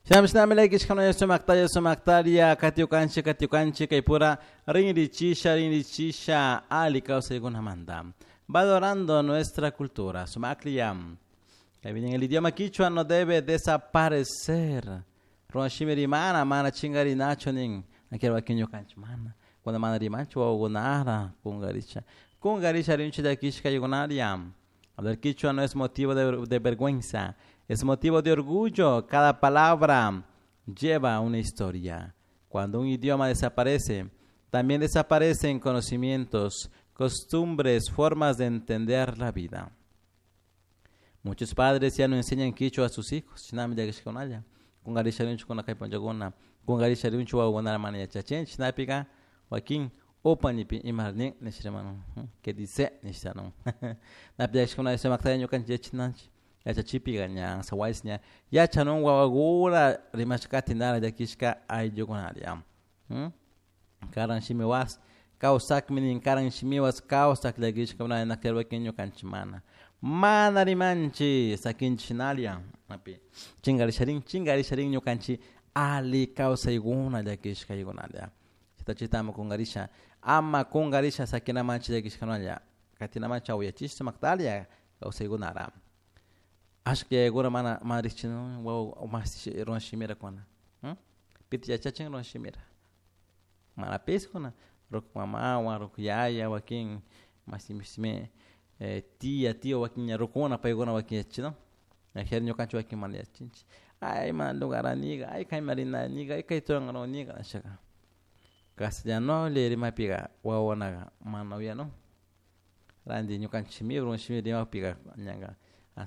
Shinami llakishkuna sumaktalla sumaktalla katiukanchik katiukanchik kaypura rinrichisha rinrichisha ali kawsaykunamanta valorando nuestra cultura. Sumaklla. En el idioma quichua no debe desaparecer. Runa shimi rimana mana chingarinachu nin. Wakin ñukanchik mana. Cuando mana rimanchu wawakunara kungarisha. Kungarisha rinchi llakishka ayukunaria. Hablar quichua no es motivo de vergüenza, es motivo de orgullo. Cada palabra lleva una historia. Cuando un idioma desaparece, también desaparecen conocimientos, costumbres, formas de entender la vida. Muchos padres ya no enseñan quichua a sus hijos. Shinami llakishkakunalla. Kungarisha rinchu kuna kay punllakuna. Kungarisha rinchu wawakunara mana yachachinchik. Shinapika wakin upa nipi ima nin nishrimanu. Que dice nishtanun. Napi llakishkuna sumaktalla ñukanchik yachananchik. Yachachipika ña sawaysi ña yachanun wawakuna rimashkati nara llakishka ayllukunaria. Karan shimiwas kawsakmi nin karan shimiwas kawsak llakishkakuna naklla wakin ñukanchik mana. Mana rimanchik sakinchik shinalla napi chingarisharin chingarisharin ñukanchik ali kawsaykuna llakishkaykunalla. Chayta chayta ama kungarisha ama kungarisha sakinamanchik llakishkakunalla katinamanchik awayachisha sumaktalla kawsaykunara. Ashka yayakuna mana mana riqchinu wawa masi runa shimira kuna. Pita yachachin runa shimira. Mana pis kuna ruku mamawan ruku yaya wakin masi tia tío wakin ña rukuna paykuna wakin yachachinu. Ajer ñukanchik wakin mana yachinchik. Ay mana lugaraniga ay kayman rinaniga ay kayta rurangaruniga nishaka. Castellano rimapika wawakunaka mana uyanun. Ranti ñukanchik shimipi runa shimipi rimakpika ñaka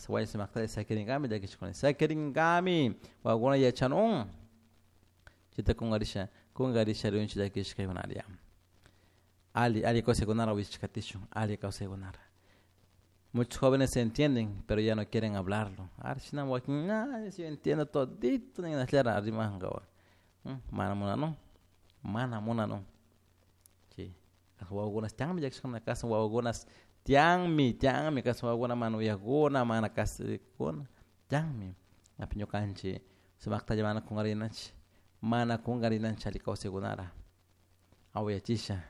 wasi sumaktalla sakirinkami llakishkuna sakirinkami wawakuna yachanun. Chayta kungarisha kungarisha rinchik llakishkaykunaria. Ali ali kawsaykunara wichikatishun ali kawsaykunara. Muchos jóvenes se entienden, pero ya no quieren hablarlo. Shina wakin, yo entiendo todito ninashllara rimankawa. Mana munanun, mana munanun. Chay wawakunas tiyanmi llakishkuna kasan wawakunas tiyanmi tiyanmi kasan wawakuna mana uyakuna mana kasikuna tiyanmi. Api ñukanchik sumaktalla mana kungarinanchik mana kungarinanchik alli kawsaykunara awayachisha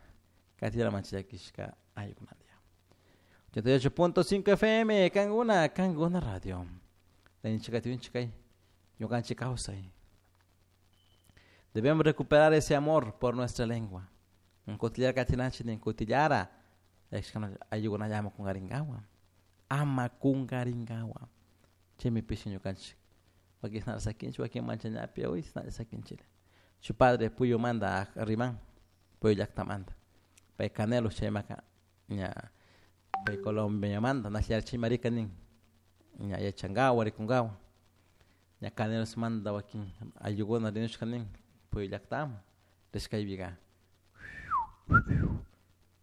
katiralamanchik llakishka ayllukunata. 88.5 FM Kankuna Kankuna Radio. Rinchik kay ñukanchik kawsay. Debemos recuperar ese amor por nuestra lengua. Kutillara katinanchik nin kutillara ayllukunalla ama kungarinkawa. Ama kungarinkawa. Chaymi pishi ñukanchik. Wakin shinalla sakinchik wakin manchañapi uy shinalla sakinchik. Shuk padre Puyumanta riman Puyo llaktamanta. Pay Canelos chaymaka ña pay Colombiamanta nashllara chaymarika nin ña yachankawa rikunkawa ña Canelosmanta wakin ayllukuna rinushka nin Puyo llaktaman rishkaypika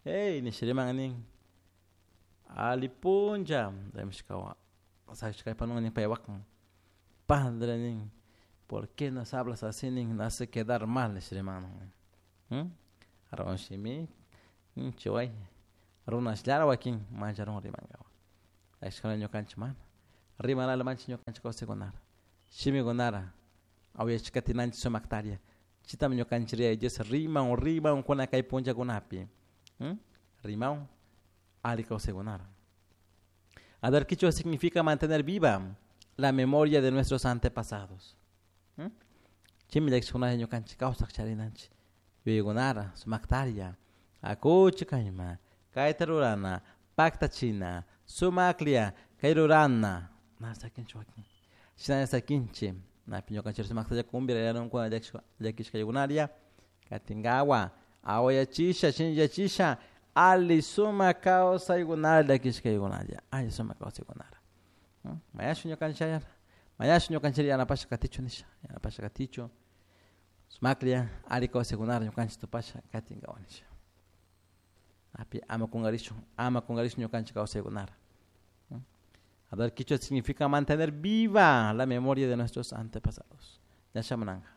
hey nisha riman nin ali punlla rimashkawa sakishkaypanun nin paypakman padre nin ¿por qué nos hablas así nin? Nos hace quedar mal nisha riman runa shimi chiway runashllara wakin mancharun rimankawa ashkuna ñukanchik mana rimanala manchik ñukanchik kawsaykunara shimikunara awayachikatinanchik sumaktalla chaytami ñukanchik Yaya Dios riman riman kuna kay punllakunapi riman ali kawsaykunara. Hablar quichua significa mantener viva la memoria de nuestros antepasados. Chaymi llakishkunalla ñukanchik kawsak charinanchik yuyaykunara sumaktalla akuchik kayman kayta rurana paktachina sumaklla kay rurana mana sakinchik wakin shinalla sakinchik napi ñukanchik sumaktalla kumbirayanunkuna llakishkaykunalla katinkawa awayachisha shinllayachisha ali sumak kawsaykunara llakishkaykunalla alli sumak kawsaykunara. Mañashun ñukanchik mañashun ñukanchik yanapasha katichun nisha yanapasha katichun sumaklla alli kawsaykunara ñukanchik tupasha katinkawa nisha. Api ama kungarishun ama kungarishun ñukanchik kawsaykunara. Hablar quichua significa mantener viva la memoria de nuestros antepasados. Ña shamunanka.